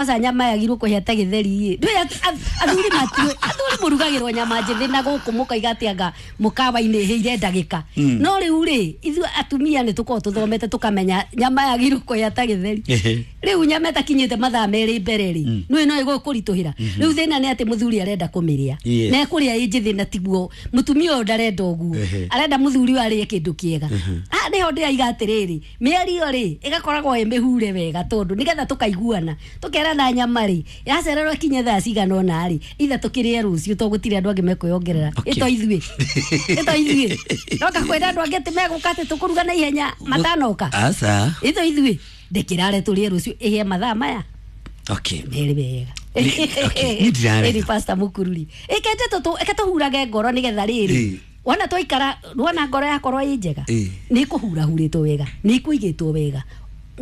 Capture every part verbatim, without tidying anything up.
Aca nyama yagirwo kũhĩa ta gĩtheri ĩ. Ndũĩ athuri matiũĩ, athuri mũrugagĩrwo nyama njĩthĩ na gũkũ mũkoiga atĩ anga mũkawa-inĩ ĩhĩire ndagĩka. No rĩu rĩ, ithuĩ atumia nĩ tũkoragwo tũthomete tũkamenya nyama yagĩrĩirwo kũhĩa ta gĩtheri. Rĩu nyama ĩtakinyĩte mathaa merĩ mbere rĩ, nĩũĩ no ĩgũkũritũhĩra. Rĩu thĩna nĩ atĩ mũthuri arenda kũmĩrĩa. Na ekũrĩa ĩ njĩthĩ na tiguo mũtumia ũyũ ndarenda ũguo. Arenda mũthuri ũyũ arĩe kĩndũ kĩega. Haha nĩho ndĩraiga atĩrĩrĩ, mĩario rĩ, ĩgakoragwo ĩ mĩhure wega tondũ nĩgetha tũkaiguana. Tũkera na nyama rĩ, yacererwo ĩkinye thaa cigana ũna rĩ, ithe tũkĩrĩe rũciũ tondũ gũtirĩ andũ angĩ mekwĩongerera. Ĩto ithuĩ. Ĩto ithuĩ. Noka kwĩra andũ angĩ atĩ megũka atĩ tũkũruga na ihenya matanoka. Aca. Ĩto ithuĩ. Ndĩkĩrare tũrĩe rũciũ ĩhĩe mathaa maya. Okay. Merĩ wega. Niĩ ndirarega. Ĩni Pastor Mũkururi. Ĩkete tũtũ, ĩke tũhurage ngoro nĩgetha rĩrĩ. Wona twaikara, wona ngoro yakorwo ĩ njega. Nĩ ĩkũhurahurĩtwo wega, nĩ ĩkũigĩtwo wega.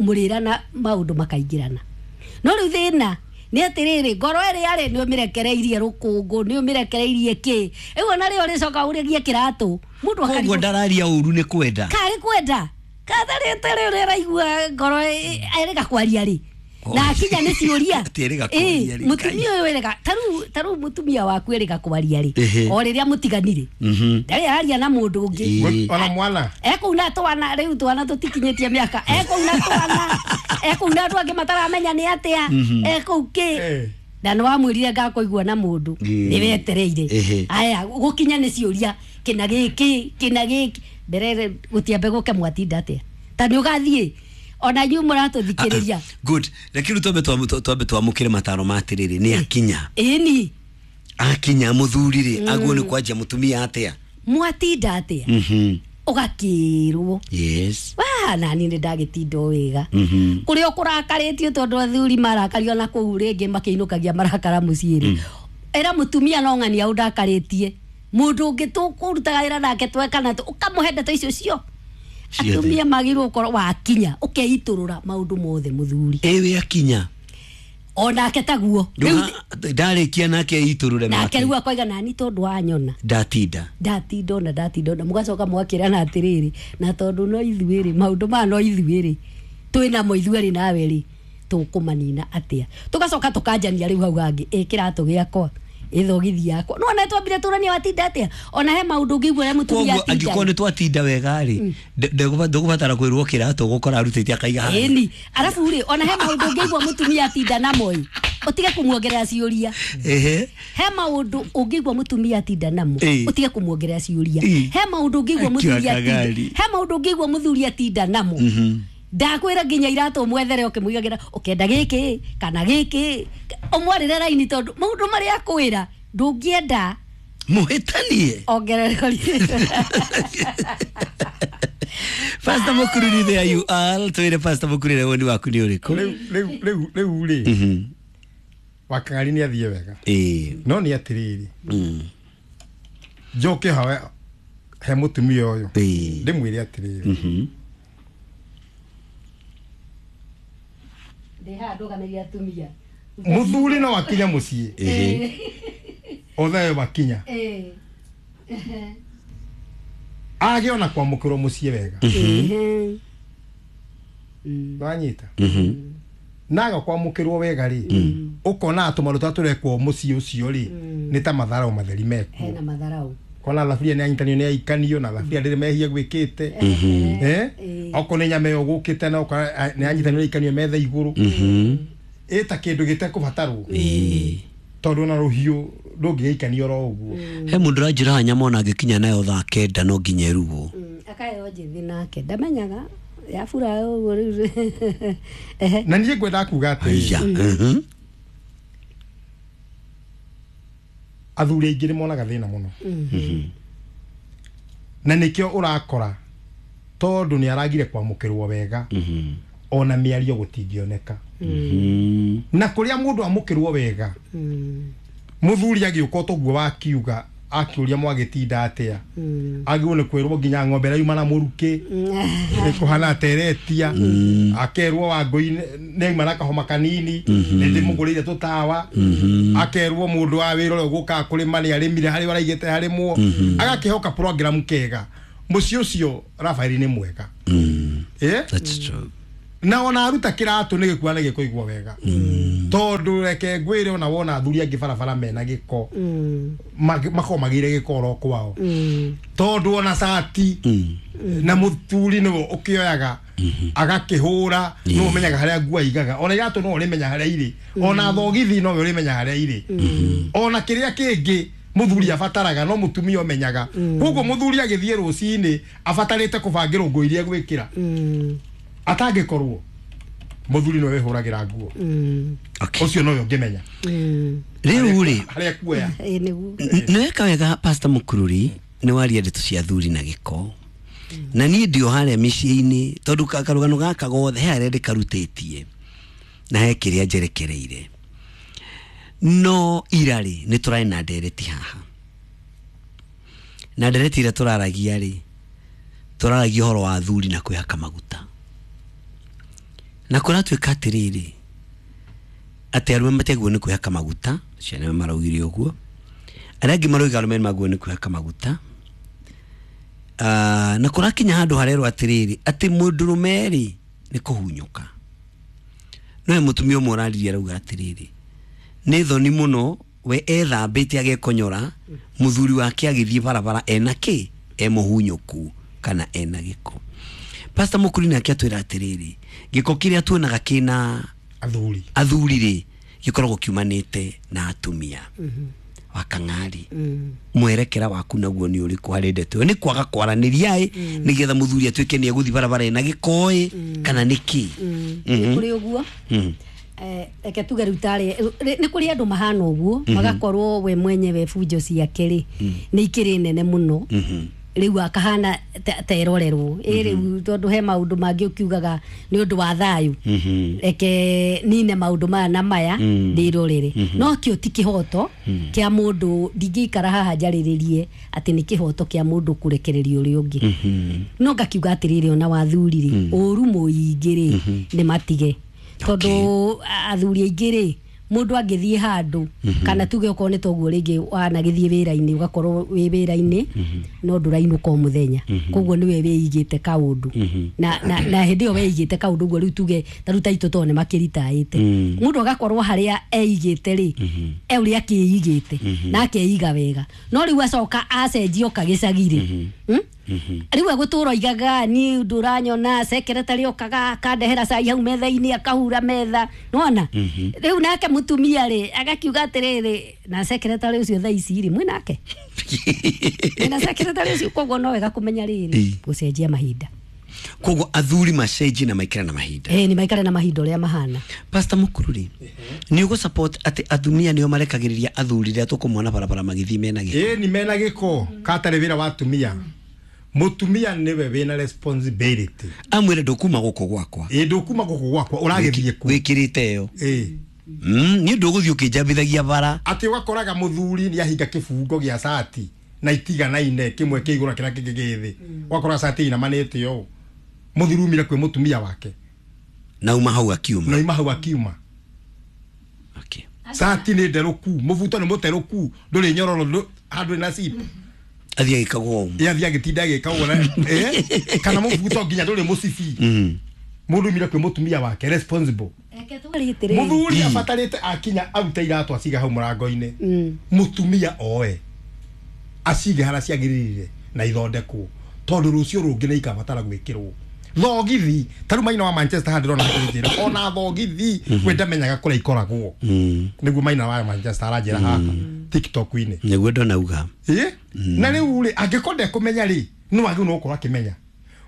Mũrĩrana maũndũ makaingĩrana. No rĩu thĩna nĩ atĩrĩrĩ, ngoro ĩrĩa rĩ nĩ ũmĩrekereirie rũkũngũ, nĩ ũmĩrekereirie kĩ. Rĩu ona rĩo rĩcoka ũrĩgie kĩratũ. Mũndũ akarigwo. Koguo ndararia ũru nĩ kwenda. Karĩ kwenda. Katharĩte rĩu rĩraigua ngoro ĩrega kwaria rĩ. Na akinya nĩ ciũria. Atĩ ĩrega kwaria rĩ. Mũtumia ũyũ ĩrega, ta rĩu, ta rĩu mũtumia waku ĩrega kwaria rĩ. O rĩrĩa mũtiganire. Ndarĩ araria na mũndũ ũngĩ. Ona mwana. Ekũu na twana, rĩu twana tũtikinyĩtie mĩaka. Ekũu na twana. Ekũu na andũ angĩ mataramenya nĩ atĩa. Ekũu kĩ. Na nĩ wamwĩrire ngakũigua na mũndũ. Nĩ wetereire. Aya, gũkinya nĩ ciũria. Kĩna gĩkĩ, kĩna gĩkĩ. Mbere gũtiambe gũke mwatinda atĩa. Ta nĩ ũgathiĩ. Ona inyuĩ mũratũthikĩrĩria. Good. Reke rĩu twambe twambe twamũkĩre mataro ma atĩrĩrĩ, nĩ akinya. Ĩni. Akinya mũthuri rĩ, aguo nĩ kwanjia mũtumia atĩa? Mwatinda atĩa? Ũgakĩrwo. Yes. Wa, nani nĩ ndagĩtinda o wega. Kũrĩa ũkũrakarĩtio tondũ athuri marakario na kũu rĩngĩ makĩinũkagia marakara mũciĩ rĩ. Ĩra mũtumia no ng'ania ũndakarĩtie. Mũndũ ũngĩ tũkũrutaga wĩra nake twekana ũkamũhe ndeto icio cio. Atumia magĩrĩirwo gũkorwo wakinya ũkeitũrũra maũndũ mothe mũthuri. Ĩwe akinya. Onake taguo. Ndarĩkia nake eitũrũre make. Nake rĩu akoiga nani tondũ wanyona. Ndatinda. Ndatinda ona ndatinda ona mũgacoka mũgakĩrana atĩrĩrĩ, na tondũ no ithuĩ rĩ, maũndũ maya no ithuĩ rĩ, twĩnamo ithuĩ rĩ nawe rĩ, tũkũmanina atĩa. Tũgacoka tũkanjania rĩu hau hangĩ, ĩ kĩratũ gĩakwa. Ĩthogithi yakwa. No ona twambire tũranie watinda atĩa? Ona he maũndũ ũngĩigua ũrĩa mũtumia atinda. Angĩkorwo nĩ twatinda wega rĩ, ndũgũbatara kwĩrwo kĩratũ ũgũkora arutĩte akaiga haha. Ĩni, arabu rĩ, ona he maũndũ ũngĩigua mũtumia atinda namo ĩ, ũtige kũmuongerera ciũria. Ehe. He maũndũ ũngĩigua mũtumia atinda namo, ũtige kũmuongerera ciũria. He maũndũ ũngĩigua mũthuri atinda. He maũndũ ũngĩigua mũthuri atinda namo. Ndakwĩra nginya iratũ mwethere ũkĩmũigagĩra ũkenda gĩkĩ kana gĩkĩ ũmwarĩre raini tondũ maũndũ marĩa akwĩra ndũngĩenda mũhĩtanie ongerera. Pastor Mũkururi, there you are. Twĩre Pastor Mũkururi woni waku nĩ ũrĩkũ? Rĩu rĩu rĩu rĩu rĩ, Wakang'ari nĩ athiĩ wega. No nĩ atĩrĩrĩ, njoke hawe he mũtumia ũyũ ndĩmwĩre atĩrĩrĩ, mũthuri no akinya mũciĩ othe wakinya age ona kwamũkĩrwo mũciĩ wega, wanyita naga kwamũkĩrwo wega rĩ, ũkona tũmaũndũ tũrĩa tũrekwo mũciĩ ũcio rĩ nĩ ta matharau matheri mekuo. Hena matharau kona thaburia nĩ anyitanio nĩ aikanio na thaburia ndĩrĩ mehia gwĩkĩte, eh okorwo nĩ nyama ĩyo gũkĩte na ũkora nĩ anyitanio nĩ aikanio metha igũrũ, ĩta kĩndũ gĩtekũbatarwo tondũ ona rũhiũ ndũngĩgĩikanio oro ũguo. He mũndũ ũranjĩra nyama ona angĩkinya nayo thaa kenda no nginya ĩrugwo. Akaheo njĩthĩ nake ndamenyaga yabura ũguo rĩu. Na niĩ ngwenda kuga atĩrĩrĩ, athuri aingĩ nĩ monaga thĩna mũno, na nĩkĩo ũrakora tondũ nĩ aragire kwamũkĩrwo wega, ona mĩario gũtingĩoneka. Na kũrĩa mũndũ amũkĩrwo wega, mũthuri agĩũka toguo wakiuga akĩũria mwagĩtinda atĩa, agĩrwo nĩ kwĩrwo nginya ng'ombe ĩrauma na mũrukĩ ĩkũhana teretia, akerwo Wangũi nĩauma na kahoma kanini nĩ ndĩmũgũrĩire tũtawa, akerwo mũndũ wa wĩra ũrĩa ũgũkaga kũrĩma nĩ arĩmire harĩa araigĩte harĩmwo, agakĩhoka program kega. Mũciĩ ũcio Rafaeli nĩ mwega. That's true. Na ona aruta kiratu nĩ gĩkua na gĩkũigua wega. Tondũ reke ngwĩre ona wona athuri angĩ barabara mena gĩko. Makoragwo magĩire gĩko oro kwao. Tondũ ona cati na mũthuri nĩwe ũkĩoyaga agakĩhũra no ũmenyaga harĩa nguo aigaga. Ona iratũ no ũrĩmenya harĩa irĩ. Ona thogithi no ũrĩmenya harĩa irĩ. Ona kĩrĩa kĩngĩ muthuri abataraga no mutumia omenyaga. Koguo muthuri agithie rucini abatarite kubangirwo nguo iria gwikira. Atangikorwo muthuri no wehuragira nguo. Ucio no ũngĩmenya. Riu ri haria kuoya. Nĩ wega Pastor Mukururi nĩ waria ndeto cia athuri na gĩko. Na niĩ ndio harĩa mĩciĩ-inĩ tondũ karũgano gaka gothe he harĩa ndĩkarutĩtie na he kĩrĩa njerekereire. No irari nĩ tũrarĩ na ndereti haha. Na ndereti ĩrĩa tũraragia rĩ, tũraragia ũhoro wa athuri na kwĩhaka maguta. Na kũratuĩka atĩrĩrĩ, atĩ arũme matiagĩrĩirwo nĩ kwĩhaka maguta, ciana maraugire ũguo. Arĩa angĩ maroiga arũme nĩmagĩrĩirwo nĩ kwĩhaka maguta. Uh, na kũrakinya handũ harerwo atĩrĩrĩ, atĩ mũndũrũme rĩ nĩ kũhunyũka. No he mũtumia ũmwe ũraririe arauga atĩrĩrĩ, nĩ thoni mũno we ethambĩte agekonyora mũthuri wake agĩthiĩ barabara ena kĩ, e mũhunyũku kana ena gĩko. Pastor Mukuri nake atwĩra atĩrĩrĩ, gĩko kĩrĩa tuonaga kĩna athuri athuri rĩ gĩkoragwo kiumanĩte na atumia. Wa kang'ari mwerekera waku naguo nĩ ũrĩkũ harĩ ndeto ĩyo? Nĩ kwaga kwaranĩria ĩ nĩgetha mũthuri atuĩke nĩ egũthiĩ barabara ena gĩko ĩ kana nĩ kĩ? Nĩ kũrĩ ũguo. Eh, reke tuge rĩu tarĩ nĩ kũrĩ andũ mahana ũguo magakorwo we mwenyewe bunjo ciake rĩ nĩ ikĩrĩ nene mũno rĩu akahana terorerwo ĩ rĩu tondũ he maũndũ mangĩ ũkiugaga nĩ ũndũ wa thayũ reke nine maũndũ maya na maya ndĩrorere. No kĩo ti kĩhoto kĩa mũndũ, ndingĩikara haha njarĩrĩrie atĩ nĩ kĩhoto kĩa mũndũ kũrekereria ũrĩa ũngĩ. No ngakiuga atĩrĩrĩ, ona wathuri rĩ ũru mũingĩ rĩ nĩ matige, tondũ athuri aingĩ rĩ mũndũ angĩthiĩ handũ kana tuge okorwo nĩ toguo rĩngĩ wanagĩthiĩ wĩra-inĩ ũgakorwo wĩ wĩra-inĩ no ndũrainũka o mũthenya, koguo nĩwe wĩigĩte kaũndũ na na na hĩndĩ ĩyo weigĩte kaũndũ ũguo rĩu tuge ta rĩu ta itũ tondũ nĩmakĩritaĩte mũndũ agakorwo harĩa eigĩte rĩ e ũrĩa akĩigĩte na akeiga wega, no rĩu acoka acenjia oka gĩcagi rĩ rĩu egũtũra oigaga niĩ ndũranyona secretary okaga akandehera cai hau metha-inĩ akahura metha nĩwona. Rĩu nake mũtumia rĩ agakiuga atĩrĩrĩ, na secretary ũcio thaa ici rĩ mwĩnake na secretary ũcio, koguo no wega kũmenya rĩrĩ gũcenjia mahinda. Koguo athuri macenjie na maikare na mahinda. Eh, ni maikare na mahinda ũrĩa mahana. Pastor Mukururi, nĩ ũgũ support atĩ atumia nĩo marekagĩrĩria athuri rĩrĩa tũkũmona barabara magĩthiĩ mena gĩko? Ĩ ni mena gĩko katarĩ wĩra wa atumia. Mutumia niwe wina responsibility. Amwire ndukuma guku gwakwa. Ĩ ndukuma guku gwakwa uragithie ku. Wikirite yo. Ĩ. Mm, ni nduguthii ukinjambithagia bara. Ati ugakoraga muthuri ni ahinga kibungo gia cati na itiganaine kimwe ki iguru kira kingi gi thi. Ugakora cati inamanite yo. Muthuri umire kwi mutumia wake. Na uma hau akiuma. Na uma hau akiuma. Okay. Cati ni nderuku, mubuto ni muteruku, nduri nyororo handu na zip. Athie agĩkagwo ũũ. Athiĩ agĩtinda agĩkagwo na eh kana mũbuto nginya ndũrĩ mũcibi. Mũndũ umire kwĩ mũtumia wake responsible. Mũthuri abatarĩte akinya arute iratũ aciga hau mũrango-inĩ. Mũtumia oe acige harĩa ciagĩrĩire na ithondekwo tondũ rũciũ rũngĩ nĩ ikabatara gwĩkĩrwo. Thogithi ta rĩu maina wa Manchester haha ndĩrona hakĩnjĩra ona thogithi we ndamenyaga kũrĩa ikoragwo. Nĩguo maina wa Manchester aranjĩra haha TikTok-inĩ. Nĩguo ndonauga. Ĩ na rĩu rĩ angĩkorwo ndekũmenya rĩ no wagĩrĩirwo nĩ gũkorwo akĩmenya.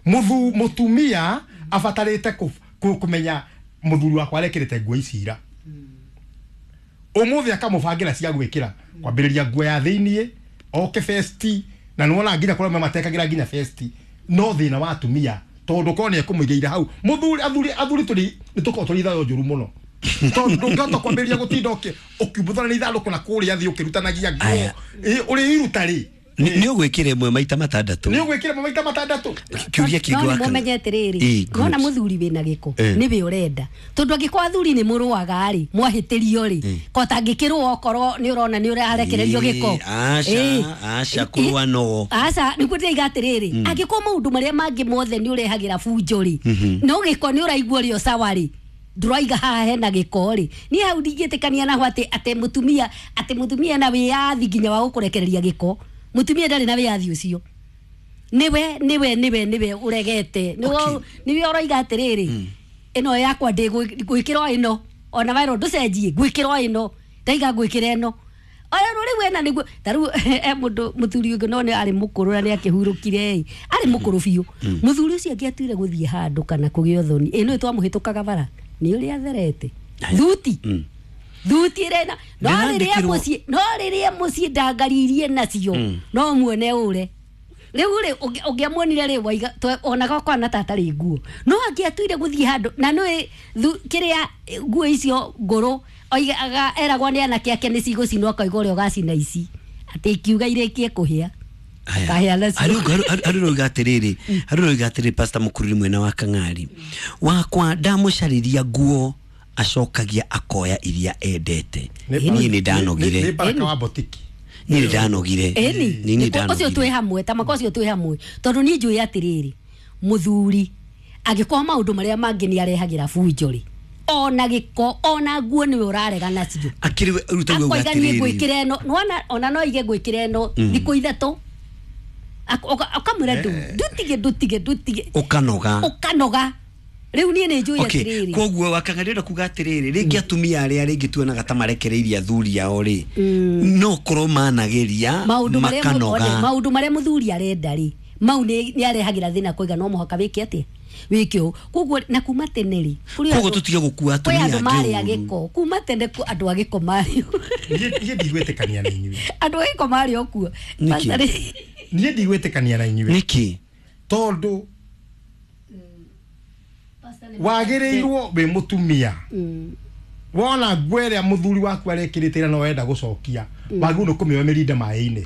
Mũthu mũtumia abatarĩte kũmenya mũthuri wakwa arekĩrĩte nguo ici ira. Ũmũthĩ akamũbangĩra cia gwĩkĩra kwambĩrĩria nguo ya thĩiniĩ oke festi na nĩwona nginya kũrĩa matekagĩra nginya festi no thĩna wa atumia tondũ korwo nĩekũmũigĩire hau mũthuri athuri athuri tũrĩ nĩtũkorwo tũrĩ ithayo njũru mũno tondũ ndũngĩhota kwambĩrĩria gũtinda ũkĩumbuthana na ithandũkũ na kũrĩa thĩ ũkĩrutanagia nguo ũrĩiruta rĩ. Nĩ ũgwĩkĩra ĩmwe maita matandatũ. Nĩ ũgwĩkĩra ĩmwe maita matandatũ. Kĩũria kĩngĩ wa kana. No atĩrĩrĩ, wona mũthuri wĩna gĩko nĩwe ũrenda. Tondũ angĩkorwo athuri nĩ mũrũaga rĩ, mwahĩtĩrio rĩ, ko tangĩkĩrũa okorwo nĩ ũrona nĩ ũrarekererio gĩko. Aca, aca kũrũa no. Aca, nĩguo ndĩraiga atĩrĩrĩ, angĩkorwo maũndũ marĩa mangĩ mothe nĩ ũrehagĩra bunjo rĩ, no gĩko nĩ ũraigua ũrĩ o sawa rĩ, ndũraiga haha hena gĩko rĩ, niĩ hau ndingĩtĩkania naho atĩ atĩ mũtumia atĩ mũtumia na wĩyathi nginya wa gũkũrekereria gĩko. Mũtumia ndarĩ na wĩyathi ũcio. Niwe niwe niwe niwe uregete niwe niwe ũroiga atĩrĩrĩ ĩno yakwa ndĩgwĩkĩrwo ĩno ona waerwo ndũcenjie ngwĩkĩrwo ĩno ndaiga ngwĩkĩra ĩno ona rĩu wena nĩguo ta rĩu e mũndũ mũthuri ũngĩ no nĩ arĩ mũkũrũ na nĩ akĩhurũkire ĩ arĩ mũkũrũ biũ mũthuri ũcio angĩatuire gũthiĩ handũ kana kũgĩa ũthoni ĩ nĩ twamũhĩtũkaga bara nĩ ũrĩa atherete thuti thuti rena no rĩrĩa mũciĩ no rĩrĩa mũciĩ ndangaririe nacio no muone ũre rĩu rĩ ũngĩamuonire rĩ waiga ona gakwa na tatarĩ nguo no angĩatuire gũthiĩ handũ na nĩ kĩrĩa nguo icio ngũrũ oigaga eragwo nĩ anake ake nĩ cigũcinwo akauga ũrĩa ũgacina ici atĩ ikiuga irĩkie kũhĩa kahĩa nacio. Harĩ roiga atĩrĩrĩ harĩ roiga atĩrĩrĩ Pastor Mũkururi mwena wa Kang'ari wakwa ndamũcarĩria nguo acokagia akoya iria endete niĩ nĩ ndanogire nĩ baraka wa botiki niĩ ndanogire ni ni ndanogire ucio twĩ hamwe ta mako ucio twĩ hamwe tondu niĩ njũĩ atĩrĩrĩ mũthuri angĩkorwo maũndũ marĩa mangĩ nĩ arehagĩra bunjo rĩ ona gĩko ona nguo nĩwe ũrarega nacio akĩrĩ rutaguo akoiga niĩ ngwĩkĩra ĩno nĩwona ona no aige ngwĩkĩra ĩno thikũ ithatũ akamwĩra ndutige ndutige ndutige ũkanoga ũkanoga rĩu niĩ nĩ njũĩ atĩrĩrĩ koguo wakang'arĩra kuga atĩrĩrĩ rĩngĩ atumia arĩa rĩngĩ tuonaga ta marekereirie athuri ao rĩ no korwo manageria makanoga maũndũ marĩa mũthuri arenda rĩ mau nĩ arehagĩra thĩna koiga no mũhaka wĩke atĩa wĩke ũũ koguo na kuma tene rĩ koguo tũtige gũkua atumia angĩ marĩ a gĩko kuma tene andũ a gĩko marĩ niĩ ndigwĩtĩkania na inyuĩ andũ a gĩko marĩ o kuo niĩ ndigwĩtĩkania na inyuĩ nĩkĩ tondũ wagĩrĩirwo wĩ mũtumia wona nguo ĩrĩa mũthuri waku arekĩrĩte ĩrĩa no wenda gũcokia wagĩrĩirwo nĩ kũmĩoya mĩrinde maĩ-inĩ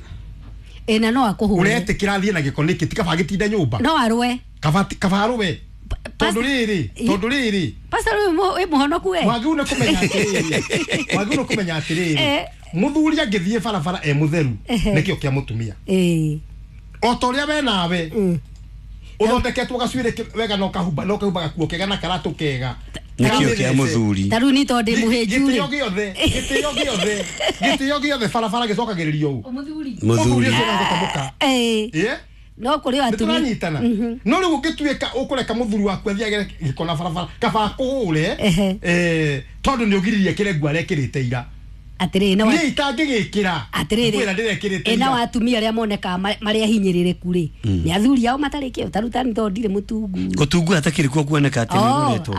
ĩ na no akũhũre ũretĩkĩra athiĩ na gĩko nĩkĩ ti kaba gĩtinde nyũmba no arũe kaba kaba arũe tondũ rĩrĩ tondũ rĩrĩ Pastor wĩ mũhonoku we wagĩrĩirwo nĩ kũmenya atĩrĩrĩ wagĩrĩirwo nĩ kũmenya atĩrĩrĩ mũthuri angĩthiĩ barabara e mũtheru nĩkĩo kĩa mũtumia o ta ũrĩa we nawe uthondeketwo gacuĩrĩ wega no kahumba no kahumba gakuo kega na karatũ kega nĩkĩo kĩa mũthuri ta rĩu nĩ tondũ ndĩ mũhĩnju rĩ gĩtĩo gĩothe gĩtĩo gĩothe gĩtĩo gĩothe barabara gĩcokagĩrĩrio ũũ mũthuri mũthuri ĩĩ no kũrĩ o atumia tũranyitana no rĩu ũngĩtuĩka ũkũreka mũthuri waku athiage gĩko na barabara kaba akũhũre eh tondũ nĩ ũgiririe kĩrĩa nguo arekĩrĩte ira atĩrĩrĩ no niĩ itangĩgĩkĩra atĩrĩrĩ kwĩra ndĩrekĩrĩte ĩna wa atumia arĩa monekaga marĩa hinyĩrĩrĩku rĩ nĩ athuri ao matarĩ kĩo ta rĩu tani tondũ ndirĩ mũtungu gũtungu hatakĩrĩ kuo kuoneka atĩ nĩ ũretwo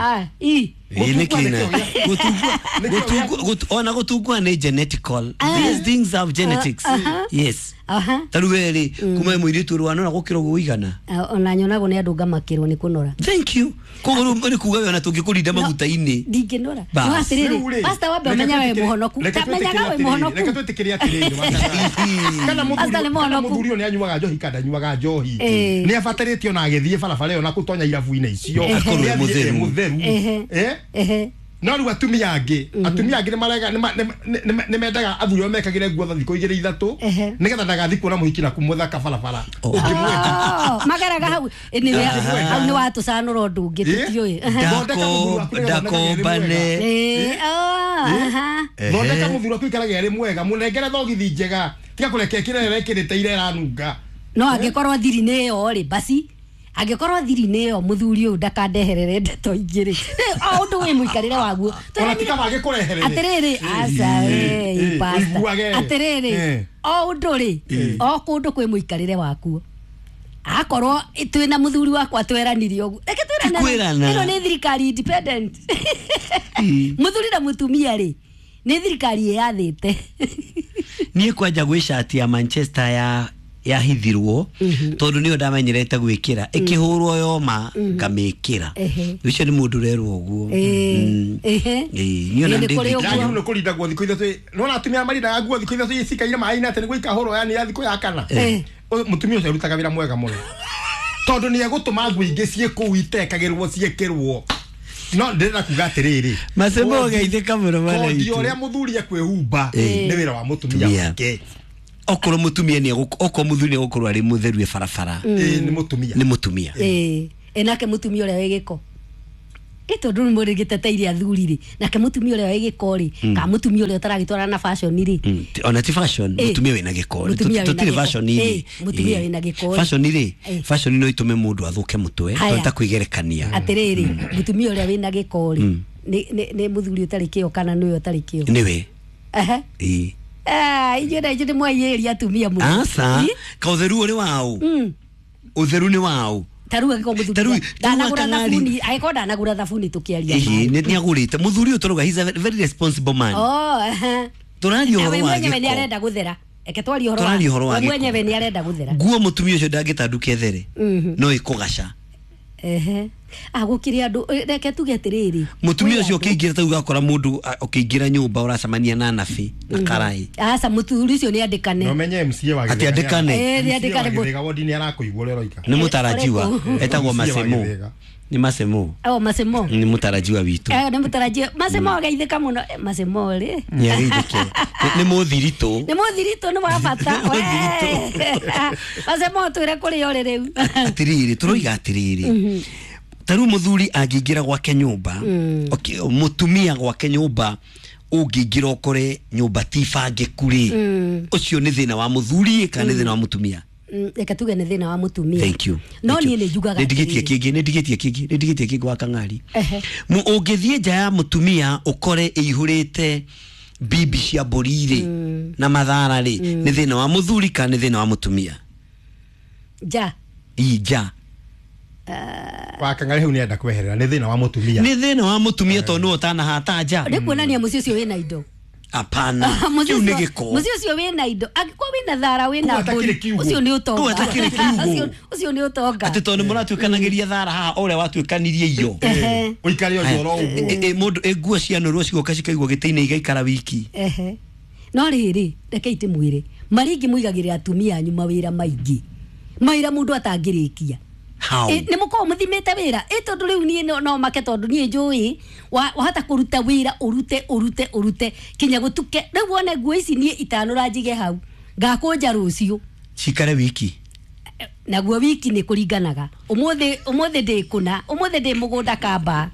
ona gũtungua nĩ genetical these things have genetics yes ta rĩu we rĩ kuma mũirĩtu ũrĩ wanora gũkĩra ũguo ũigana ona nyonagwo nĩ andũ ngamakĩrwo nĩ kũnora thank you koguo rĩu nĩ kuga we ona tũngĩkũrinda maguta-inĩ ndingĩnora no atĩrĩrĩ pastor wambe ũmenya we mũhonoku menyaga we mũhonoku reke twĩtĩkĩre atĩrĩrĩ kana mũthuri ũyũ nĩ anyuaga njohi kana ndanyuaga njohi nĩ abatarĩtio na agĩthiĩ barabara ĩyo na gũtonya irabu-inĩ icio akorwo e mũtheru mũtheru eh no rĩu atumia angĩ atumia angĩ nĩmarega nĩmendaga athuri ao mekagĩre nguo thikũ igĩrĩ ithatũ nĩgetha ndagathiĩ kuona mũhiki na kũmũthaka barabara ũngĩmwenda mageraga hau hau nĩ watũcanũra ũndũ ũngĩ tũtiũĩ ndakombane thondeka mũthuri waku ikarage arĩ mwega mũnengere thogithi njega tiga kũreke kĩrĩa arekĩrĩte ira ĩranunga no angĩkorwo thiri nĩ ĩyo rĩ basi angĩkorwo thiri nĩ ĩyo mũthuri ũyũ ndakandeherere ndeto ingĩ rĩ o ũndũ wĩ mũikarĩre waguo ona ti kaba agĩkũreherere atĩrĩrĩ aca we pastor atĩrĩrĩ o ũndũ rĩ o kũndũ kwĩ mũikarĩre wakuo akorwo twĩna mũthuri wakwa tweranire ũguo reke twĩrane ĩno nĩ thirikari independent mũthuri na mũtumia rĩ nĩ thirikari ĩyathĩte niĩ kwanja gwĩ cati ya Manchester ya yahithirwo tondu niyo ndamenyerete gwikira ikihurwo yoma ngamikira Ehe. ucio ni mundu urerwo uguo Eh, ehe. Eh, niyo na Ĩ, nĩ kũrĩ ndĩ ũguo. Yagĩrĩirwo nĩ kũrinda nguo thikũ ithatũ nona atumia marindaga nguo thikũ ithatũ cikaire maĩ-inĩ atĩ nĩguo ikahũrwo yani ya thikũ ya kana Eh. Ũyũ mũtumia ũcio arutaga wĩra mwega mũno tondũ nĩ egũtũma nguo ingĩ ciĩ kũu itekagĩrwo ciĩkĩrwo no ndĩrenda kuga atĩrĩrĩ Macembo kondi- ũgeithĩka mũno mwana kondi witũ. ũrĩa mũthuri ekwĩhumba Eh. nĩ wĩra wa mũtumia Tumia. wake okorwo mutumia ni okorwo muthuri ni egukorwo ari mutheru e barabara Ĩ, nĩ mũtumia ni mutumia Ĩ, ĩ nake mũtumia ũrĩa wĩ gĩko ĩ tondũ nĩ mũrĩgĩteteire athuri rĩ nake mũtumia ũrĩa wĩ gĩko rĩ ka mũtumia ũrĩa ũtaragĩtwarana na fashion rĩ Mm, ti- ona ti fashion Eh. mutumia wina giko Mũtumia wĩna tutire gĩko. fashion ri Eh, mũtumia wĩna gĩko rĩ. fashion ri Eh. fashion no itume mundu athuke mutwe Haya. tondu ta kwigerekania atĩrĩrĩ mũtumia ũrĩa wĩna gĩko rĩ nĩ- nĩ nĩ mũthuri ũtarĩ kĩo kana nĩwe ũtarĩ kĩo niwe Ehe. ĩ Ah, inyuĩ na inyuĩ nĩ mwaiyĩria atumia mũno aca Ĩ? ka utheru uri wau utheru ni wau ta rĩu angĩkorwo mũthuri Ta rĩu- ndanagũra ta rĩu akang'ari. thabuni angĩkorwo ndanagũra thabuni tũkĩaria Ĩhĩ, ma. nĩ nĩagũrĩte mũthuri ũyũ tũrauga he's a very responsible man Oh, ehe. tũraria Na ũhoro we wa mwenyewe nĩ gĩko arenda gũthera eke twarie ũhoro wa Tũraria ũhoro wa we gĩko. mwenyewe nĩ arenda gũthera nguo mũtumia ũcio ndangĩtanduka ethere no ĩkũgaca ehe ah gũkĩrĩ andũ eh, reke tuge atĩrĩrĩ mũtumia kwĩ ũcio andũ- ũkĩingĩra ta ũgakora mũndũ a- ũkĩingĩra nyũmba ũracemania na nabi na karai aca mũthuri ũcio nĩ andĩkane na ũmenye M C A wa Atĩ Gĩthĩga andĩkane. Eh, nĩ M C A wa andĩkane mũ- Gĩthĩga wodi nĩ arakũigua ũrĩa ũroiga nĩ mũtarajiwa Ũrĩkũ? etagwo M C A wa masemo Gĩthĩga. nĩ masemo o masemo nĩ mũtarajiwa witũ Eh, nĩ mũtarajio masemo ageithĩka mũno Eh, masemo rĩ nĩ ageithĩke nĩ mũthiritũ nĩ mũthiritũ nĩ wa bata Nĩ mũthiritũ. Wee. masemo twĩre kũrĩa ũrĩ rĩu atiriri turoiga atiriri ta rĩu mũthuri angĩingĩra gwake nyũmba okay, mũtumia gwake nyũmba ũngĩingĩra ũkore nyũmba ti bangĩku rĩ ũcio nĩ thĩna wa mũthuri kana nĩ thĩna wa mũtumia Mm, reke tuge nĩ thĩna wa mũtumia thank you no Thank you. niĩ nĩ njugaga nĩ ndigĩtie atĩrĩrĩ. kĩngĩ nĩ ndigĩtie kĩngĩ nĩ ndigĩtie kĩngĩ wa kang'ari Ehe. Mu- ũngĩthiĩ nja ya mũtumia ũkore ĩihũrĩte bibi cia mbũri rĩ na mathara rĩ nĩ thĩna wa mũthuri kana nĩ thĩna wa mũtumia nja ii nja wa kang'ari hau nĩenda kweherera nĩ thĩna wa mũtumia nĩ thĩna wa mũtumia tondũ nĩwe ũtanahata nja nĩ kuonania mũciĩ ũcio wĩna indo apana Mũciĩ kĩu nĩ ũcio- gĩko mũciĩ ũcio wĩna indo angĩkorwo wĩna thara wĩna Kũu mbũri hatakĩrĩ kiugũ. ũcio nĩ ũtonga Kũu hatakĩrĩ kiugũ. Ũcio- ũcio nĩ ũtonga atĩ tondũ nĩ mũratuĩkanagĩria thara haha o ũrĩa watuĩkanirie iyo Ehe. ũikare ũcio oro ũguo Ĩ- ĩ- mũndũ ĩ, nguo cianũrwo cigoka cikaigwo gĩtĩ-inĩ igaikara wiki ehe no rĩrĩ reke itimwĩre marĩa ingĩ mũigagĩrĩra atumia anyu mawĩra maingĩ mawĩra mũndũ atangĩrĩkia How? Ĩ, nĩ mũkorwo mũthimĩte wĩra ĩ tondũ rĩu niĩ no- no make tondũ niĩ njũĩ wa- wahota kũruta wĩra ũrute ũrute ũrute kinya gũtuke rĩu wone nguo ici niĩ itanũra njige hau ngakũnja rũciũ cikare wiki naguo wiki nĩ kũringanaga ũmũthĩ ũmũthĩ ndĩ kũna ũmũthĩ ndĩ mũgũnda kamba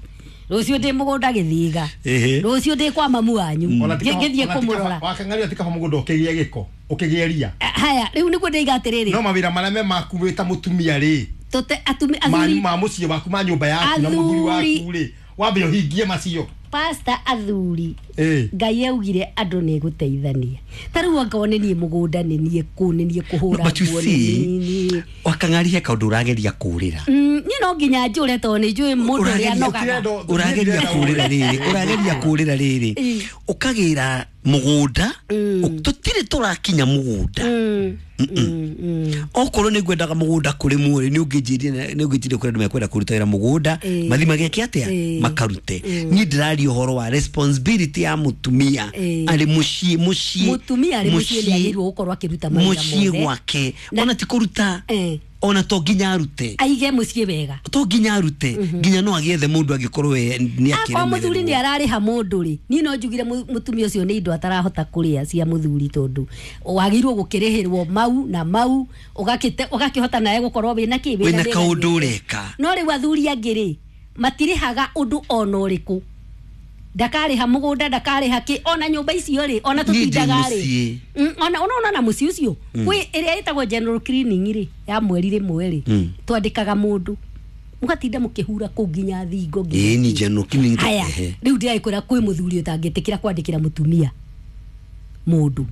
rũciũ ndĩ mũgũnda gĩthiga Ĩhĩ. rũciũ ndĩ kwa mamu wanyu Ona ti Ngĩ- kaba- ngĩthiĩ ona ti kũmũrora kaba- wa kang'ari ti kaba mũgũnda ũkĩgĩe gĩko ũkĩgĩe ria haya rĩu nĩguo ndĩiga atĩrĩrĩ no mawĩra marĩa me maku wĩ ta mũtumia rĩ tũte atumi ma athuri ma mũciĩ waku ma nyũmba yaku na mũthuri Athuri. waku rĩ wambe ũhingie macio pasta athuri Ĩ. ngai augire andũ nĩ gũteithania ta rĩu angorwo nĩ niĩ mũgũnda nĩ niĩ kũ nĩ niĩ kũhũra but you nguo, nĩ see niĩ- wakang'ari he kaũndũ ũrageria kũũrĩra Mm, niĩ no nginya njũre tondũ nĩ njũĩ mũndũ ũrĩa Ũrageria- anogaga Ũtirenda- ũrageria kũũrĩra rĩrĩ ũrageria kũũrĩra rĩrĩ Ĩ. ũkagĩra mũgũnda ũ- tũtirĩ tũrakinya mũgũnda Mm, mm, mm. okorwo nĩ ngwendaga mũgũnda kũrĩmwo rĩ nĩ ũngĩnjĩrire nĩ ũngĩnjĩrire kũrĩ andũ mekwenda kũruta wĩra mũgũnda Ĩ. mathi mageke atĩa Ĩ. makarute niĩ ndĩraria ũhoro wa responsibility ya mũtumia Ĩ. arĩ mũciĩ mũciĩ mũtumia arĩ mũciĩ nĩ agĩrĩirwo gũkorwo akĩruta mawĩra mũciĩ mothe gwake Na- ona ti kũruta Eh. ona to nginya arute aige mũciĩ wega to nginya arute nginya no agĩethe mũndũ angĩkorwo we nĩ akorwo mũthuri nĩ akĩremererwo ararĩha mũndũ rĩ niĩ no njugire mu- mũtumia ũcio nĩ indo atarahota kũrĩa cia mũthuri tondũ wagĩrĩirwo gũkĩrĩhĩrwo mau na mau ũgakĩte- ũgakĩhota nawe gũkorwo wĩna kĩ wĩna mĩganĩre. kaũndũ ũreka no rĩu athuri angĩ rĩ matirĩhaga ũndũ ona ũrĩkũ ndakarĩha mũgũnda ndakarĩha kĩ ona nyũmba icio rĩ ona Niĩ ndĩ tũtindaga rĩ mũciĩ. Mm, ona ona ona mũciĩ ũcio kwĩ ĩrĩa ĩtagwo general cleaning rĩ ya mweri rĩmwe rĩ Mm. twandĩkaga mũndũ mũgatinda mũkĩhura kũu nginya thingo nginya ĩĩ ni kĩ. general cleaning haya ehe. rĩu ndĩragĩkwĩra kwĩ mũthuri ũtangĩtĩkĩra kwandĩkĩra mũtumia mũndũ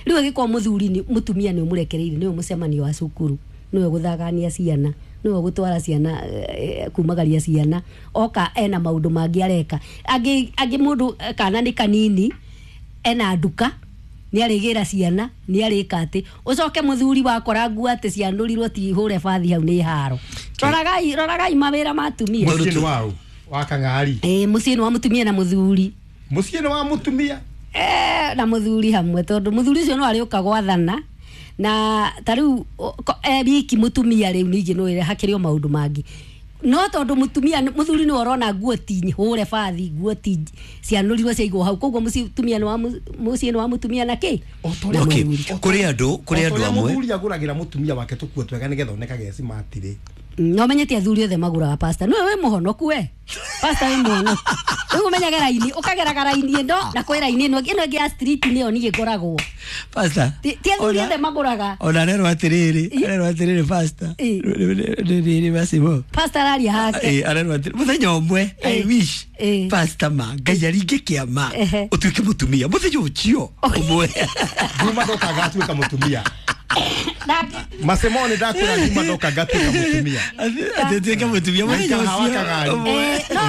rĩu angĩkorwo mũthuri nĩ- mũtumia nĩ ũmũrekereirie nĩwe mũcemanio wa cukuru nĩwe gũthagania ciana nĩwe gũtwara ciana eh, kumagaria ciana oka ena maũndũ mangĩ areka angĩ angĩ mũndũ eh, kana nĩ kanini ena nduka Nĩ arĩgĩra ciana, nĩ arĩka atĩ. Ũcoke mũthuri wakora nguo atĩ cianũrirwo ti hũre bathi hau nĩ haro. Roragai, roragai mawĩra ma atumia. Mũciĩ nĩ waũ? Wa kang'ari. Ĩĩ, mũciĩ nĩ wa mũtumia na mũthuri. Mũciĩ nĩ wa mũtumia? Eh, na mũthuri hamwe, tondũ mũthuri ũcio no arĩũka gwathana. Na ta rĩu, o, ko-, e wiki mũtumia rĩu ningĩ no ĩre hakĩrĩ o maũndũ mangĩ. No tondũ mũtumia, mũthuri nĩwe ũrona nguo ti hũre bathi, nguo ti cianũrirwo ciaigwo hau, koguo mũtumia nĩ wa mũ-, mũciĩ nĩ wa mũtumia na kĩ? O ta ũrĩa Okay. mũthuri- Kũrĩ andũ, kũrĩ o ta andũ ũrĩa amwe. mũthuri agũragĩra mũtumia wake tũkuo twega nĩgetha onekage e smart rĩ. No menyete athuri othe magũraga pasta. Nĩwe wĩ mũhonoku we. Pasta wĩ mũhonoku. Rĩu ũmenyaga raini, ũkageraga raini ĩno na kwĩ raini ĩno, ĩno ĩngĩ ya street nĩyo niĩ ngoragwo. Pasta. Ti, ti athuri Ona- othe magũraga. Ona arerwo atĩrĩrĩ, Ĩ. arerwo atĩrĩrĩ pasta. Ĩ. Nĩ, nĩ, nĩ macimo. Pasta araria hake. Ĩ, arerwo atĩrĩ, mũthenya ũmwe, I Ĩ. wish, Ĩ. pasta ma, Ngai aringe kĩama, Ehe. ũtuĩke mũtumia. Mũthenya ũcio, ũmwe. Juma ndoka agatuĩka mũtumia. Nake- Macemo nĩ ndakwĩra Juma ndoka ngatuĩka mũtumia. Atĩ ũtuĩke mũtumia, mũthenya Maikara ũcio, wakagari. ũmwe. Eh, no,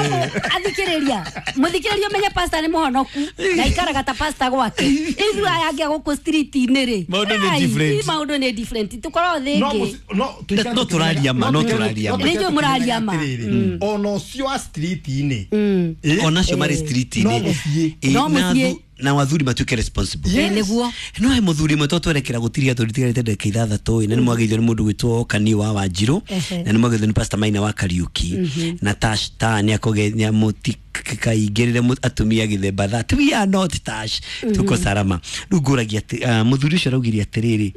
athikĩrĩria. Mũthikĩrĩria ũmenye pasta nĩ mũhonoku, na aikaraga ta pasta gwake. Ithuĩ aya angĩ a gũkũ street-inĩ rĩ, Maũndũ nĩ ai, different. maũndũ nĩ different. Tũkoragwo thĩ No ĩngĩ. mũci-, no, tũikare No tũraria ma, no tũraria ma. Nĩ njũĩ mũraria ma. Atĩrĩrĩ, ona ũcio wa street-inĩ. Mm. Ĩ? Ona acio marĩ street-inĩ. No mũciĩ. Ĩ, No na mũciĩ. athu-, na athuri matuĩke responsible. Ĩ, nĩguo. No he mũthuri ũmwe tũtwerekera gũtiria tondũ tigarĩte ndagĩka ithathatũ ĩ, na nĩ mwageithio nĩ mũndũ gwĩtwo Kani wa Wanjirũ, Ehe. na nĩ mwageithio nĩ Pastor Maina wa Kariuki, na Tash ta nĩ akũge-, nĩ amũtikaingĩrĩre mũ-, atumia gĩthemba that we are not Tash, tuko salama. Rĩu ngũragia atĩ, ah, mũthuri ũcio araugire atĩrĩrĩ,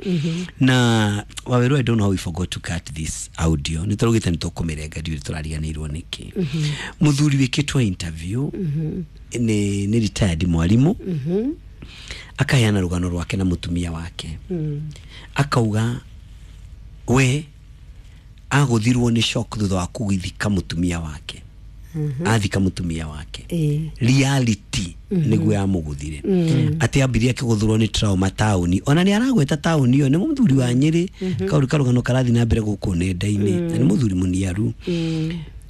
na Waweru, I don't know how we forgot to cut this audio. Nĩ tũraugĩte nĩ tũkũmĩrenga, ndiũĩ tũrariganĩirwo nĩkĩ. Mũthuri wĩkĩtwo interview nĩ, nĩ retired mwarimu, akaheana rũgano rwake na mũtumia wake. Akauga we agũthirwo nĩ shock thutha wa kũgithika mũtumia wake. Athika mũtumia wake. Ĩ. Reality nĩguo yamũgũthire. Atĩ ambirie akĩgũthũrwo nĩ trauma taũni. Ona nĩ aragweta taũni ĩyo, nĩ mũthuri wa Nyĩrĩ, kaũndũ karũgano karathiĩ na mbere gũkũ nenda-inĩ, na nĩ mũthuri mũniaru.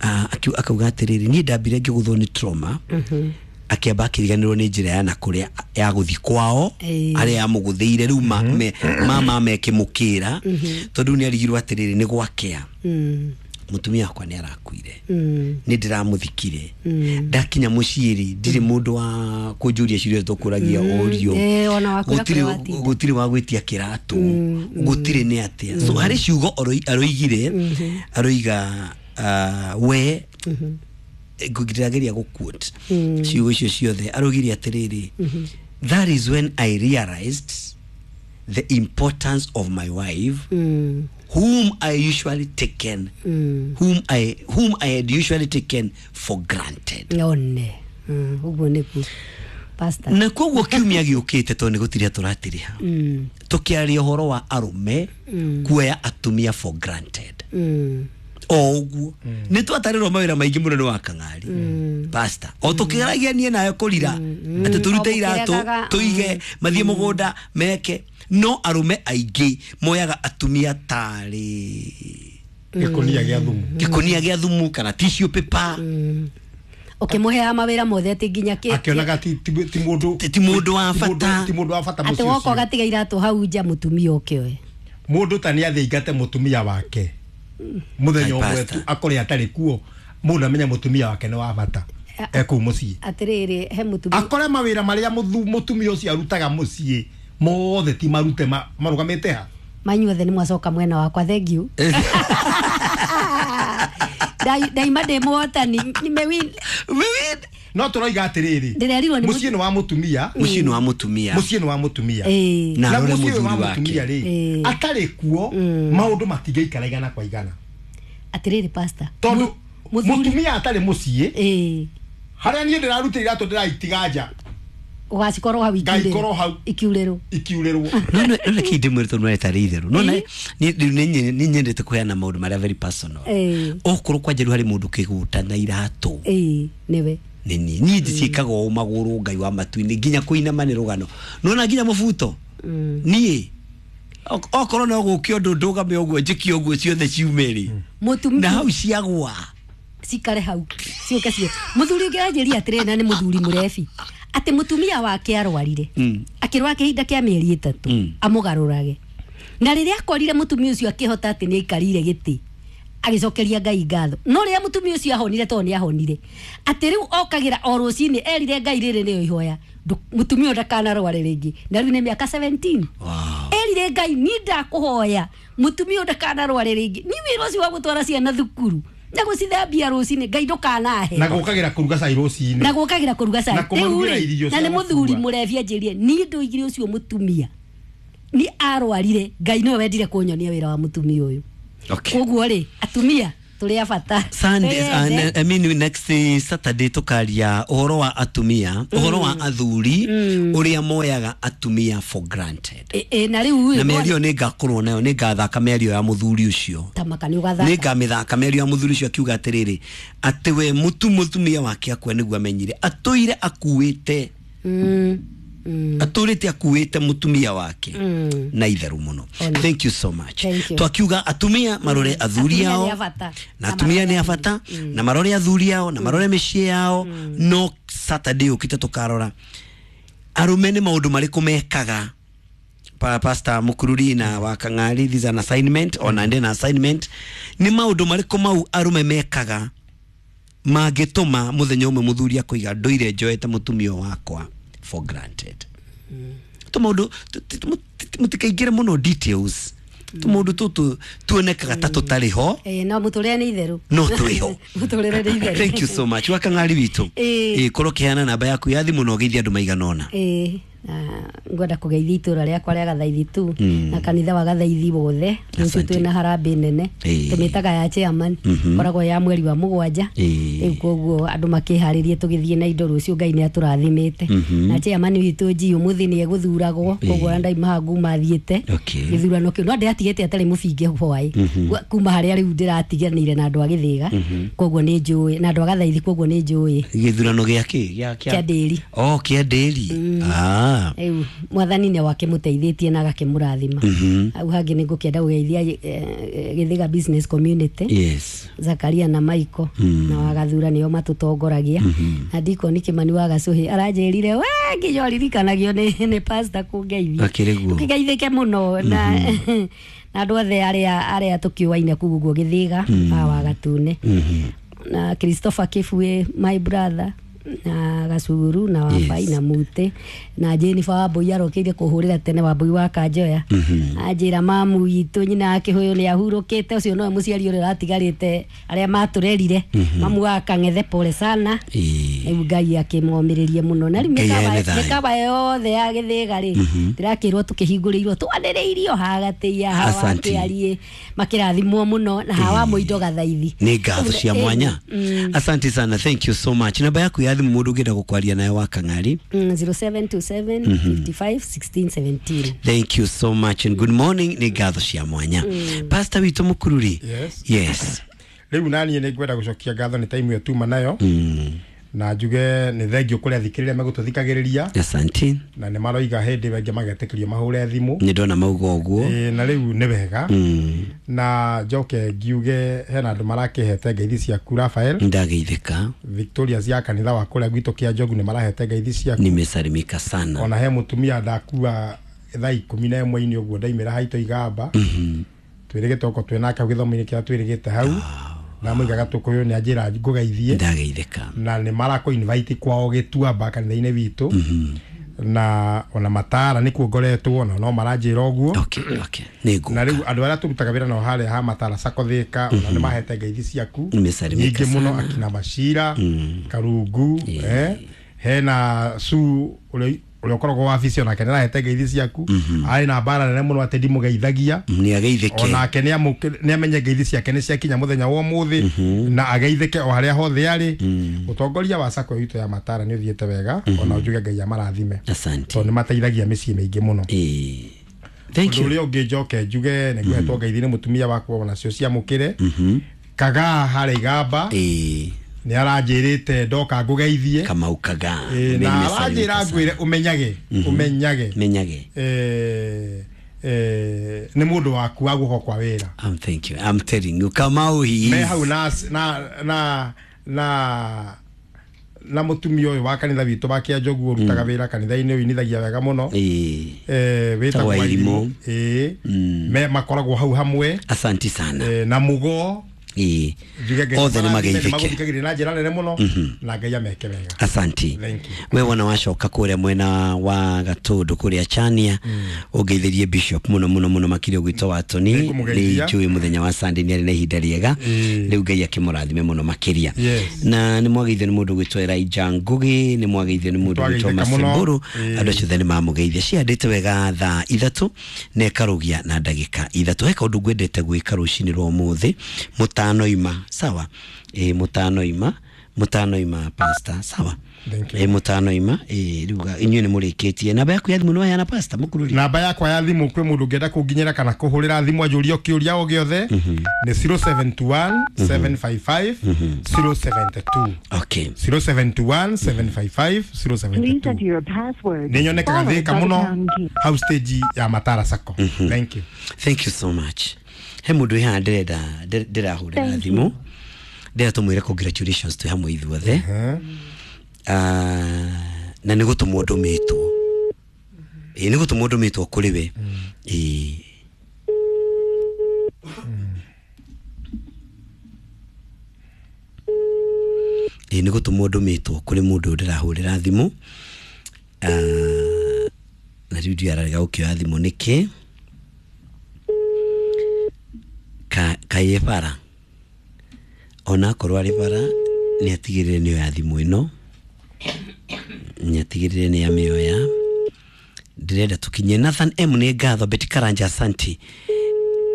Ah, akiu-, akauga atĩrĩrĩ, niĩ ndambire ngĩgũthwo nĩ trauma, akĩamba akĩriganĩrwo nĩ njĩra ya na kũrĩa ya gũthiĩ kwao, Ĩĩ. arĩa yamũgũthĩire rĩu ma-, me-, mama mekĩmũkĩra, tondũ nĩ arigirwo atĩrĩrĩ, nĩ gwakĩa. Mm. Mũtumia wakwa nĩ arakuire. Mm. Nĩ ndĩramũthikire. Ndakinya mũciĩ rĩ, ndirĩ mũndũ wa kũnjũria ciũria tũkũragia ũrio. Eh, ona wakwĩra Gũtirĩ kũrĩa watinda. gũtirĩ wa gwĩtia kĩratũ. Gũtirĩ nĩ atĩa. So harĩ ciugo aroi-, aroigire, aroiga, ah, we, ngĩrageria gũ-quote ciugo icio ciothe, aroigire atĩrĩrĩ, that is when I realized the importance of my wife, Mm. whom I usually taken, Mm. whom I, whom I had usually taken for granted. One. Mm, ũguo nĩguo. Pastor. Na koguo kiumia gĩũkĩte tondũ nĩ gũtiria tũratiriha. Mm. Tũkĩaria ũhoro wa arũme kuoya atumia for granted. Mm. O ũguo. Nĩ twatarĩrwo mawĩra maingĩ mũno nĩ wa Kang'ari. Pastor. O tũkĩgeragia niĩ nawe kũrira. Atĩ tũrute O iratũ, mũkĩregaga. tũige, mathiĩ mũgũnda, meke. No arũme aingĩ moyaga atumia tarĩ Gĩkũnia gĩa thumu. Gĩkũnia gĩa thumu kana tissue paper. Ũkĩmũheaga mawĩra mothe atĩ nginya kĩ- Akĩonaga ti, ti, ti mũndũ, Ti mũndũ wa ti mũndũ, bata. ti mũndũ wa bata Atĩ mũciĩ woka ũcio. ũgatiga iratũ hau nja mũtumia ũke oe. Mũndũ ta nĩ athĩingate mũtumia wake. Mũthenya Ai, ũmwe pastor. tu akore atarĩ kuo, mũndũ amenya mũtumia wake nĩ wa bata. E kũu mũciĩ. Atĩrĩrĩ, he mũtumia. Akore mawĩra marĩa mũthu-, mũtumia ũcio arutaga mũciĩ mothe ti marute ma-, marũgamĩte ha. Manyuothe nĩ mwacoka mwena wakwa, thank you. Ndai-, ndaima ndĩ mũhotani, nimewin. Umewin. No tũroiga atĩrĩrĩ, Ndĩrerirwo nĩ mũciĩ nĩ wa mũtumia. Mũciĩ nĩ wa mũtumia. Mũciĩ nĩ wa mũtumia. Ĩĩ. Na Na arore mũciĩ ũyũ wa mũthuri wake. mũtumia rĩ, Ĩĩ. atarĩ kuo, maũndũ matingĩikara igana kwa igana. Atĩrĩrĩ, pastor. Tondũ Mũthuri- mũtumia atarĩ mũciĩ, Ĩĩ. harĩa niĩ ndĩrarutĩra iratũ ndĩraitiga nja. Ũgacikorwo hau ikiurĩrwo. Ngaikorwo hau. Ikiurĩrwo. Ikiurĩrwo. No, no, no, reke ndĩmwĩre tondũ nĩ tarĩ itherũ. No, na, nĩ, rĩu nĩ nye-, nĩ nyendete kũheana maũndũ marĩa very personal. Ĩĩ. Okorwo kwanja rĩu harĩ mũndũ kĩgũta na iratũ. Ĩĩ, nĩwe. Nĩ niĩ. Niĩ ndiciĩkaga ũũ magũrũ Ngai wa matu-inĩ, nginya kũinama nĩ rũgano. Nĩwona nginya mũbuto? Niĩ, ok-, okorwo no gũke ũndũ ndũgame ũguo, njĩke ũguo ciothe ciume rĩ. Mũtumia. Na hau ciagwa. Cikare hau. Ciũke ciothe. Mũthuri ũngĩ anjĩria atĩrĩrĩ, na nĩ mũthuri mũrebi. Atĩ mũtumia wake arwarire Mm. akĩrwara kĩhinda kĩa mĩeri ĩtatũ Mm. amũgarũrage na rĩrĩa akorire mũtumia ũcio akĩhota atĩ nĩ aikarire gĩtĩ agĩcokeria Ngai ngatho no rĩrĩa mũtumia ũcio ahonire tondũ nĩ ahonire atĩ rĩu okagĩra o rũcinĩ erire Ngai rĩrĩ nĩyo ihoya ndũ- mũtumia ũyũ ndakanarware rĩngĩ na rĩu nĩ mĩaka seventeen. Wow. Erire Ngai ni ndakũhoya mũtumia ũyũ ndakanarware rĩngĩ ni wĩra ũcio wa gũtwara ciana thukuru na gũcithambia rũcinĩ Ngai ndũkanahe Na gũkagĩra kũruga cai rũcinĩ. Na gũkagĩra kũruga cai. Na kũmarugĩra Rĩu rĩ, irio na cia nĩ mũthuri gũkua. mũrebi anjĩrire niĩ ndoigire ũcio mũtumia ni arwarire Ngai nĩwe wendire kũnyonia wĩra wa mũtumia ũyũ. Okay. Koguo rĩ atumia tũrĩ a bata. Sunday, uh, Twĩyende. ne- I mean next eh, Saturday tukaria uhoro wa atumia, uhoro wa athuri uria moyaga atumia for granted. Ĩ- ĩ, na rĩu Na rĩ, mĩario nĩ ngakorwo nayo nĩ ngathaka mĩario ya mũthuri ũcio. Tamaka nĩ Nĩ ũgathaka. ngamĩthaka mĩario ya mũthuri ũcio akiuga atĩrĩrĩ atĩ we mũtu mũtumia wake akua nĩguo amenyire atũire akuĩte Mm, mm, atũrĩte akuĩte mũtumia wake mm. na itherũ mũno. Ona. Thank you so much. Thank you. Twakiuga atumia marore athuri Atumia ao nĩ a bata. na atumia nĩ a bata na marore athuri ao na marore mĩciĩ yao no Saturday ũkĩte tũkarora arũme nĩ maũndũ marĩkũ mekaga. Pa, Pastor Mukururi na wa Kang'ari, this is an assignment ona ndĩ na assignment nĩ maũndũ marĩkũ mau arũme mekaga mangĩtũma mũthenya ũmwe mũthuri akũiga ndũire njoete mũtumia wakwa for granted. Tũmaũndũ mũtikaingĩre mũno details, tũmaũndũ tũtũ tuonekaga ta tũtarĩ ho. Ĩ, no mũtũrĩre nĩ itherũ. No twĩho. Mũtũrĩre nĩ itherũ. Thank you so much wa Kang'ari witũ. Ĩ. Ĩ, korwo kĩheana namba yaku ya thimũ na ũgeithie andũ maigana ũna. Ĩ, na ngwenda kũgeithia itũra rĩakwa rĩa Gathaithi tu Mm. na kanitha wa Gathaithi wothe rũciũ Asante. twĩna harambĩ nene Ĩ. tũmĩtaga ya chairman Mhm. koragwo ya mweri wa mũgwanja. Ĩ. Rĩu koguo andũ makĩharĩrie tũgĩthiĩ na indo rũciũ Ngai nĩ atũrathimĩte Mhm. na chairman witũ G ũmũthĩ nĩ egũthuragwo koguo ona ndaima haha nguma thiĩte Okay. gĩthurano kĩu no ndĩratigĩte atarĩ mũbinge hwaĩ kuma harĩa rĩu ndĩratiganĩire na andũ a Gĩthĩga koguo nĩ njũĩ na andũ a Gathaithi koguo nĩ njũĩ. Gĩthurano gĩa kĩ gĩa Kĩa ndĩri. Oh, kĩa ndĩri. Ah. Rĩu mwathani nĩ wakĩmũteithĩtie na agakĩmũrathima. Mhm. Hau hangĩ nĩ ngũkĩenda gũgeithia eh, eh, Gĩthĩga business community. Yes. Zakaria na Michael na Wagathura nĩo matũtongoragia na Dikoni Kimani wa Gacũhĩ aranjĩrire we nginya ũririkanagio nĩ nĩ pastor kũngeithia. Akĩrĩ guo. Ũkĩgeithĩke mũno na na andũ othe arĩa arĩa tũkĩũaine kũu ũguo Gĩthĩga a Wagatune na Christopher Kibwe my brother na Gacuru na Wabai Yes. na Mute na Jennifer Wambui arokĩire kũhũrĩra tene Wambui wa Kanjoya anjĩra mamu witũ nyina wa Kĩhũyũ nĩ ahurũkĩte ũcio nowe mũciari ũrĩa ũratigarĩte arĩa matũrerire mamu wa Kang'ethe pole sana. Ĩ. Rĩu Ngai akĩmomĩrĩrie mũno na rĩu Ngai mĩkawa ene thayũ. mĩkawa yothe ya Gĩthĩga rĩ ndĩrakĩrwo tũkĩhingũrĩirwo twanĩrĩirio hagatĩia hawa Asante. kĩarie makĩrathimwo mũno na hawa mũindo Gathaithi. Nĩ ngatho cia Ĩ, mwanya. mm. Asante sana, thank you so much. Namba yaku ya thimũ mũndũ ũngĩenda gũkwaria nayo wa Kang'ari? Mm, zero seven two seven fifty-five sixteen seventeen. Thank you so much and good morning. Nĩ ngatho cia mwanya Pastor witũ Mũkururi. Yes. Yes. Rĩu naniĩ nĩ ngwenda gũcokia ngatho nĩ time ĩyo tuma nayo Mm. na njuge nĩ thengio kũrĩ athikĩrĩria megũtũthikagĩrĩria Asante. na nĩ maroiga hĩndĩ ĩyo angĩ magetĩkĩrio mahũre thimũ. Nĩ ndona mauga ũguo. Ĩ, na rĩu nĩ wega Mm. na njoke ngiuge hena andũ marakĩhete ngeithi ciaku Rafael. Ndageithĩka. Victoria cia kanitha wa kũrĩa gwitũ kĩa Njogu nĩ marahete ngeithi ciaku. Nimesalimika sana. Ona he mũtumia ndakua thaa ikũmi na ĩmwe-inĩ ũguo ndaimĩra haitũ igamba twĩrĩgĩte oko twĩ nake hau gĩthomo-inĩ kĩrĩa twĩrĩgĩte hau ndamũigaga tũkũyũ nĩ anjĩra ngũgeithie Ndageithĩka. Na nĩ marakũ invite kwao gĩtuamba kanitha-inĩ witũ na ona matara nĩkuo ngoretwo na no maranjĩra ũguo. Okay, okay. Nĩ Na ngũka. rĩu andũ arĩa tũrutaga wĩra nao harĩa ha matara Sacco Thĩka ona nĩ mahete ngeithi ciaku Nimesalimika nyingĩ mũno sana. akina Macira Karungu eh, hena su ũrĩa ũrĩa ũkoragwo wabici onake nĩ arahete ngeithi ciaku arĩ na mbara nene mũno atĩ ndimũgeithagia. Nĩ ageithĩke. Onake nĩ amenye ngeithi ciake nĩ ciakinya mũthenya wa ũmũthĩ na ageithĩke o harĩa hothe arĩ. Ũtongoria wa Sacco itũ ya Matara nĩ ũthiĩte wega ona njuge Ngai amarathime Asante. tondũ nĩ mateithagia mĩciĩ mĩingĩ mũno. Ĩ. Thank Ũndũ you. ũrĩa ũngĩ njoke njuge nĩ ngũhetwo ngeithi nĩ mũtumia wakwa onacio ciamũkĩre Kagaa harĩa Igamba Ĩ. nĩ aranjĩrĩte ndoka ngũgeithie. Kamau Kagaa. Ĩ, na Nimesalimika aranjĩra sana. ngwĩre ũmenyage ũmenyage Menyage. eh, eh, nĩ mũndũ waku wa guoko kwa wĩra. Um, thank you. I'm telling you, Kamau he Me is. hau na na na na Na mutumia ũyũ wa kanitha witũ wa Kĩanjogu ũrutaga wĩra kanitha-inĩ ũinithagia wega mũno. Ĩĩ. Eh, wĩtagwo Tagwo Irimũ. Ĩĩ. Me makoragwo hau hamwe. Asanti sana. Eh, na Mũgo. Ĩĩ. Njuge Ngai Othe nĩ marathime, mageithĩke. nĩmagũthikagĩrĩria na njĩra nene mũno na Ngai ameke wega. Asanti. Thank you. We wona wacoka kũrĩa mwena wa Gatũndũ kũrĩa Chania, ũngeithĩrie bishop mũno mũno mũno makĩria ũgwĩtwo wa Tony. Nĩngũmũgeithia. Nĩ njũĩ mũthenya wa Sunday nĩ arĩ na ihinda rĩega. Ĩĩ. Rĩu Ngai akĩmũrathime mũno makĩria. Yes. Na nĩ mwageithio nĩ mũndũ ũgwĩtwo Elijah Ngugi, nĩ mwageithio nĩ mũndũ ũgwĩtwo Twageithĩka mũno. Masemburu. Ĩĩ. Andũ acio othe nĩ mamũgeithia. Ciandĩte wega thaa ithatũ na ĩkarũgia na ndagĩka ithatũ. He kaũndũ ngwendete gwĩka rũcinĩ rwa ũmũthĩ mũtanoima, sawa? Ĩ, mũtanoima, mũtanoima pastor, sawa? Thank you. Ĩ, mũtanoima. Ĩ, rĩu ga- inyuĩ nĩ mũrĩkĩtie. Namba yaku ya thimũ nĩ waheana, pastor mũkururi? Namba yakwa ya thimũ, kwĩ mũndũ ũngĩenda kũnginyĩra kana kũhũrĩra thimũ anjũrie kĩũria o gĩothe, nĩ zero seven two one seven five five zero seven two. Okay. zero seven two one seven five five Please enter zero seven two. your password. Nĩ nyonekaga followed Thĩka by the mũno, pound key. hau stage ya Matara Sacco. Thank you. Thank you so much. He mũndũ wĩ haha ndĩrenda ndĩ- ndĩrahũrĩra Thank thimũ, ndĩrenda tũmwĩre congratulations twĩ hamwe ithuothe. Eh, Ah, na nĩ gũtũmwo ndũmĩtwo, ĩ, nĩ gũtũmwo ndũmĩtwo kũrĩ we. Ĩ, ĩ, nĩ gũtũmwo ndũmĩtwo kũrĩ mũndũ ũyũ ndĩrahũrĩra thimũ. Ah, na rĩu ndiũ ararega gũkĩoya thimũ nĩkĩ. Ka- kaĩ bara ona akorwo arĩ bara, nĩ atigĩrĩre nĩ oya thimũ ĩno, nĩ atigĩrĩre nĩ amĩoya. Ndĩrenda tũkinye Nathan M nĩ ngatho. Betty Karanja, asanti.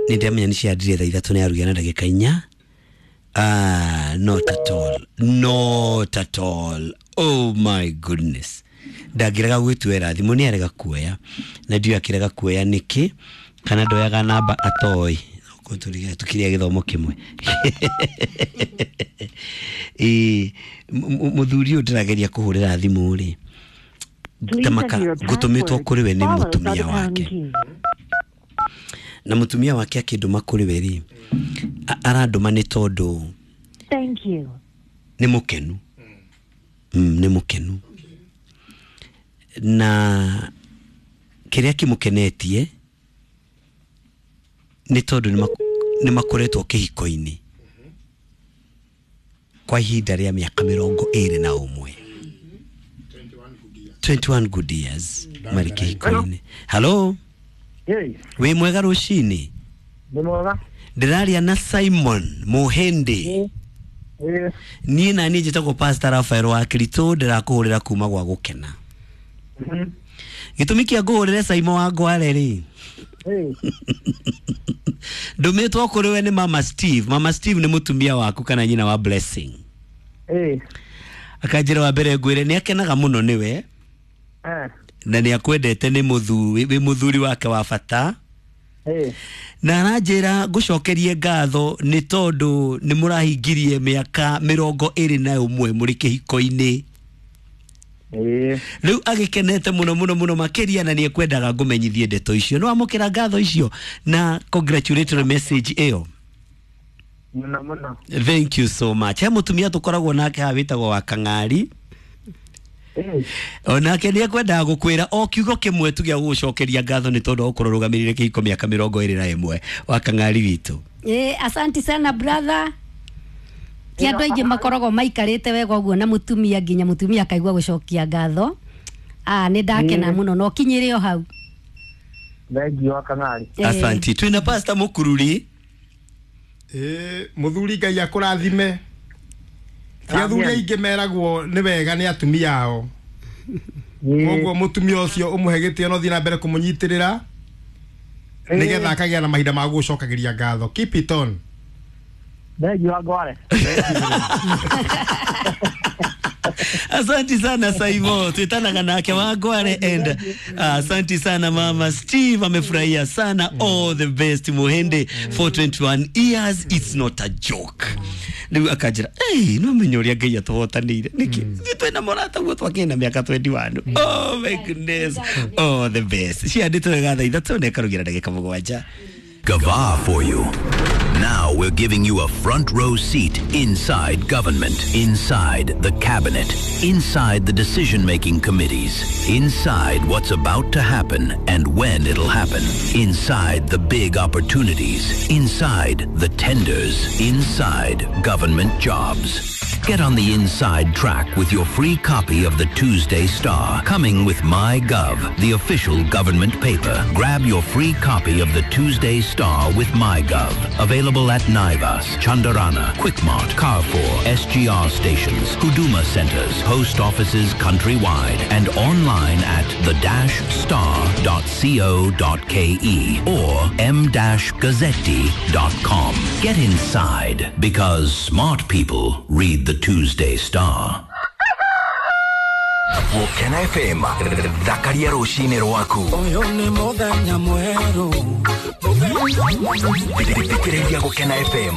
Nĩ ndĩramenya nĩ ciandire thaa ithatũ nĩ arugia na ndagĩka inya. Ah, not at all, not at all. Oh my goodness, ndangĩrega gwĩtuĩra thimũ, nĩ arega kuoya na ndiũĩ akĩrega kuoya nĩkĩ, kana ndoyaga namba atoĩ. Tũkĩrĩa gĩthomo kĩmwe. Ĩ, mũthuri ũyũ ndĩrageria kũhũrĩra thimũ rĩ, Please tamaka enter your ngũtũmĩtwo password kũrĩ we nĩ followed by mũtumia the pound wake. key. Na mũtumia wake akĩndũma kũrĩ we rĩ, a- arandũma nĩ tondũ Thank you. nĩ mũkenu, mm, nĩ mũkenu, na kĩrĩa kĩmũkenetie nĩ tondũ nĩ mak- nĩ makoretwo kĩhiko-inĩ kwa ihinda rĩa mĩaka mĩrongo ĩrĩ na ũmwe, twenty-one good years marĩ kĩhiko-inĩ. Halo. Hey, wĩ mwega rũcinĩ? Nĩ mwega. Ndĩraria na Simon Mũhĩndĩ? Ĩĩ. Niĩ na niĩ njĩtagwo Pastor Rafael wa Kiritũ, ndĩrakũhũrĩra kuma gwa gũkena. Mhm. Gĩtũmi kĩa ngũhũrĩre, Simon wa Ngware rĩ, Ĩĩ. ndũmĩtwo kũrĩ we nĩ Mama Steve. Mama Steve nĩ mũtumia waku kana nyina wa Blessing. Ĩĩ. Akanjĩra wa mbere ngwĩre nĩ akenaga mũno nĩwe Eh. na nĩ akwendete, nĩ mũthuri, wĩ mũthuri wake wa bata. Ĩĩ. Na aranjĩra ngũcokerie ngatho nĩ tondũ nĩ mũrahingirie mĩaka mĩrongo ĩrĩ na ũmwe mũrĩ kĩhiko-inĩ. Ĩĩ. Rĩu agĩkenete mũno mũno mũno makĩria, na nĩ ekwendaga ngũmenyithie ndeto icio. Nĩ wamũkĩra ngatho icio na congratulatory message ĩyo? Mũno mũno. Thank you so much. He mũtumia tũkoragwo nake haha wĩtagwo wa Kang'ari. Ĩĩ. Onake nĩ ekwendaga gũkwĩra o kiugo kĩmwe tu gĩa gũgũcokeria ngatho nĩ tondũ wa gũkorwo ũrũgamĩrĩire kĩhiko mĩaka mĩrongo ĩrĩ na ĩmwe, wa Kang'ari witũ. Eh, asanti sana brother. Ti andũ aingĩ makoragwo maikarĩte wega ũguo na mũtumia nginya mũtumia akaigua gũcokia ngatho. Ah, nĩ ndakena mũno na ũkinyĩre o hau. Thank you wa Kang'ari. Eh. Asanti. Twĩna Pastor Mũkururi. Ĩĩ, mũthuri, Ngai akũrathime. Ti athuri Amen. aingĩ meragwo nĩ wega nĩ atumia ao. Ĩĩ. Koguo mũtumia ũcio ũmũhe gĩtĩo na ũthiĩ na mbere kũmũnyitĩrĩra nĩgetha akagĩa na mahinda ma gũgũcokagĩria ngatho. Keep it on. Thank you wa Ngware. Asanti sana Saivo, twitanaga nake Wangware and uh, asanti sana Mama Steve, amefurahia sana. All the best Muhende for twenty-one years, it's not a joke. Rĩu akanjĩra, hey, no menya ũrĩa Ngai atũhotanĩire nĩkĩ ithuĩ twĩna mũrata guo twakĩna mĩaka mĩrongo ĩrĩ na ũmwe. Oh my goodness, all the best. Ciandĩtwo wega thaa ithatũ na ĩkarugira ndagĩka mũgwanja. Gava for you. Now we're giving you a front row seat inside government, inside the cabinet, inside the decision making committees, inside what's about to happen and when it'll happen, inside the big opportunities, inside the tenders, inside government jobs. Get on the inside track with your free copy of the Tuesday Star, coming with MyGov, the official government paper. Grab your free copy of the Tuesday Star with MyGov. Available at Naivas, Chandarana, Quickmart, Carrefour, S G R stations, Huduma centers, post offices countrywide, and online at the dash star dot co dot ke or m dash gazzetti dot com. Get inside, because smart people read the Tuesday Star. Gũkena F M, thakaria rũcinĩ rwaku. Ũyũ nĩ mũthenya mwerũ. Thikĩrĩria Gũkena F M.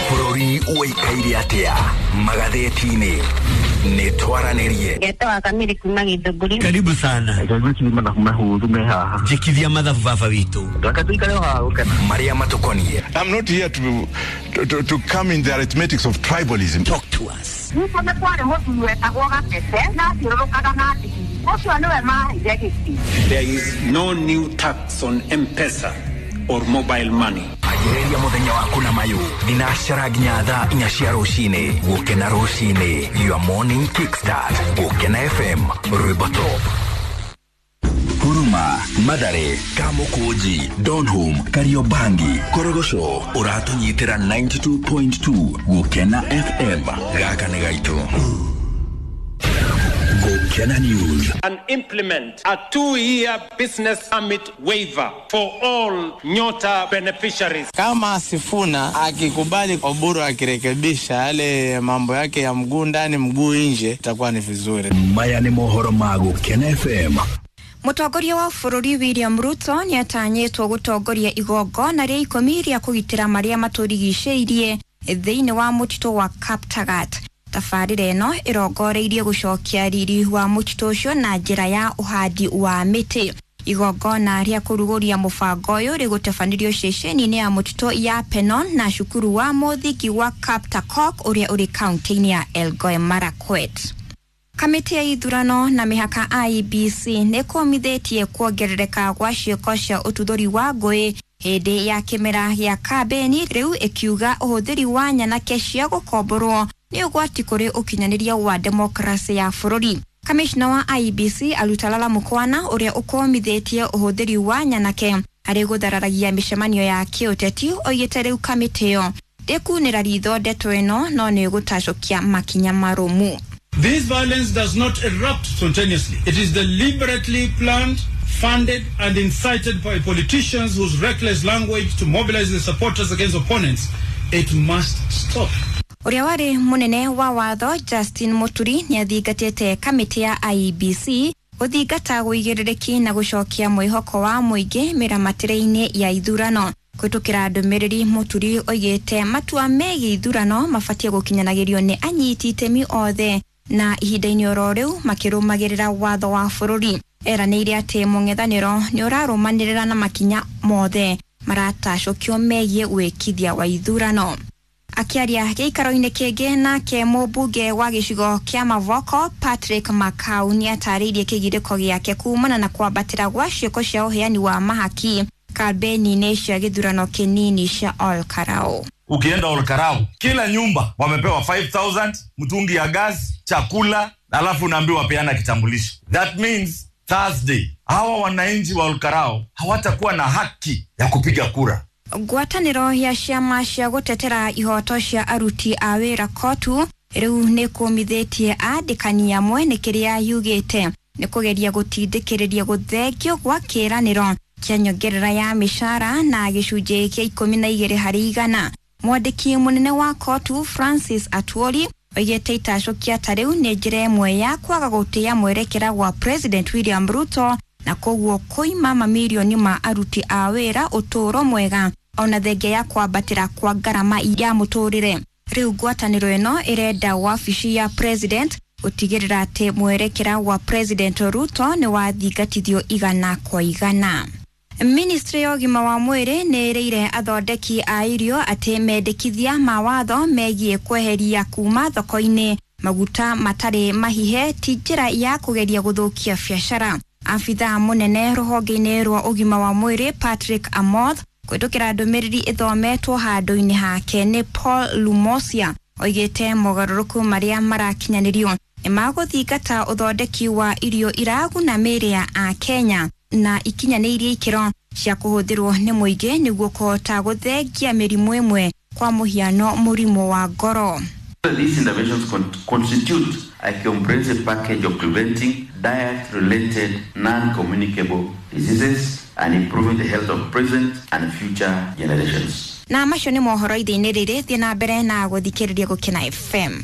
Bũrũri ũikaire atĩa magathĩti-inĩ? Nĩ twaranĩrie. Ngetwa Kamiri kuma Githũngũri. Karibu sana. Njĩkithia mathabu baba witũ. Marĩa matũkoniĩ. I'm not here to, to, to come in the arithmetics of tribalism. Talk to us. Nĩguo nĩ kwarĩ mũthuri wetagwo Gatete na athiũrũrũkaga na ndigiri. Ũcio nĩwe maheire gĩtĩ. There is no new tax on M-Pesa or mobile money. Anjĩrĩria mũthenya waku na mayũ thinacara nginya thaa inya cia rũcinĩ. Gũkena rũcinĩ, your morning kickstart. Gũkena F M, rwĩmbo top. Huruma, Mathare, Kamukunji, Donholm, Kariobangi, Korogocho, ũratũnyitĩra ninety-two point two Gũkena F M. Gaka nĩ gaitũ. Gũkena News. And implement a two-year business permit waiver for all Nyota beneficiaries. Kama Sifuna akikubali Oburu akirekebisha yale mambo yake ya mguu ndani mguu nje, itakuwa ni vizuri. Maya ni mohoro ma Gũkena F M. Mũtongoria wa bũrũri William Ruto nĩatanyĩtwo gũtongoria igongona rĩa ikũmi rĩa kũgitĩra marĩa matũrigicĩirie thĩinĩ wa mũtitũ wa Kaptagat. Tabarĩra ĩno ĩrongoreirie gũcokia riri wa mũtitũ ũcio na njĩra ya ũhandi wa mĩtĩ. Igongona rĩa kũrugũria mũbango ũyũ rĩgũtabanirio ceceni-inĩ ya mũtitũ ya Penon na cukuru wa mũthingi wa Kaptakok ũrĩa ũrĩ kaunti-inĩ ya Elgeyo Marakwet. Kamĩtĩ ya ithurano na mĩhaka I E B C nĩ kũmithĩtie kuongerereka gwa ciĩko cia ũtuthũri wa ngũĩ hĩndĩ ya kĩmera gĩa kambĩni, rĩu ĩkiuga ũhũthĩri wa nyanake cia gũkomborwo nĩ ũgwati kũrĩ ũkinyanĩria wa demokrasi ya bũrũri. Kamishna wa I E B C Alutalala Mukwana ũrĩa ũkũmithĩtie ũhũthĩri wa nyanake harĩ gũthararagia mĩcemanio ya kĩũteti oigĩte rĩu kamĩtĩ ĩyo ndĩkunĩra ritho ndeto ĩno no nĩ ĩgũtacũkia makinya marũmu. This violence does not erupt spontaneously. It is deliberately planned, funded, and incited by politicians whose reckless language to mobilize the supporters against opponents. It must stop. Ũrĩa warĩ mũnene wa watho Justin Muturi nĩathingatĩte kamĩtĩ ya I E B C gũthingata ũigĩrĩrĩki na gũcokia mwĩhoko wa mũingĩ mĩramatĩre-inĩ ya ithurano. Kũhĩtũkĩra ndũmĩrĩri, Muturi oigĩte matua megiĩ ithurano mabatiĩ gũkinyanagĩrio nĩ anyiti itemi othe na ihinda-inĩ oro rĩu makĩrũmagĩrĩra watho wa bũrũri. Eranĩire atĩ mũng'ethanĩro nĩ ũrarũmanĩrĩra na makinya mothe maratacũkio megiĩ wĩkithia wa ithurano. Akĩaria gĩikaro-inĩ kĩngĩ nake mũmbunge wa gĩcigo kĩa Mavoko Patrick Makau nĩatarĩirie kĩgirĩko gĩake kumana na kwambatĩra gwa ciĩko cia ũheani wa mahaki kambeni-inĩ cia gĩthurano kĩnini cia Ol Kalou. Ukienda Ol Kalou, kila nyumba wamepewa five thousand, mtungi ya gas, chakula, alafu unaambiwa peana kitambulisho. That means Thursday hawa wananchi wa Ol Kalou hawatakuwa na haki ya kupiga kura. Ngwatanĩro ya ciama cia gũtetera ihoto cia aruti a wĩra KOTU rĩu nĩ kũmithĩtie andĩkani amwe nĩ kĩrĩa yugĩte nĩ kũgeria gũtindĩkĩrĩria gũthengio gwa kĩĩranĩro kĩa nyongerera ya mĩcara na gĩcunjĩ kĩa ikũmi na igĩrĩ harĩ igana. Mwandĩki mũnene wa KOTU Francis Atwoli oigĩte itacũkia ta rĩu nĩ njĩra ĩmwe ya kwaga gũtĩĩa mwerekera wa President William Ruto na koguo kũima mamirioni ma aruti a wĩra ũtũũro mwega ona thengia ya kwambatĩra kwa ngarama ya mũtũrĩre. Rĩu ngwatanĩro ĩno ĩrenda wabici ya President gũtigĩrĩra atĩ mwerekera wa President Ruto nĩ wathingatithio igana kwa igana. Ministry ya ũgima wa mwĩrĩ nĩ ĩrĩire athondeki a irio atĩ mendekithia ma watho megiĩ kweheria kuma thoko-inĩ maguta matarĩ mahihe ti njĩra ya kũgeria gũthũkia biacara. Abithaa mũnene rũhonge-inĩ rwa ũgima wa mwĩrĩ Patrick Amoth kũhĩtũkĩra ndũmĩrĩri ĩthometwo handũ-inĩ hake nĩ Paul Lumosia oigĩte mogarũrũku marĩa marakinyanĩrio nĩ magũthingata ũthondeki wa irio iraguna mĩĩrĩ ya Akenya na ikinyanĩirie ikĩro cia kũhũthĩrwo nĩ mũingĩ nĩguo kũhota gũthengia mĩrimũ ĩmwe kwa mũhiano mũrimũ wa ngoro. These interventions con constitute a comprehensive package of preventing diet-related non-communicable diseases and improving the health of present and future generations. Na macio nĩ mohoro ithĩ-inĩ rĩrĩ, thiĩ na mbere na gũthikĩrĩria Gũkena F M.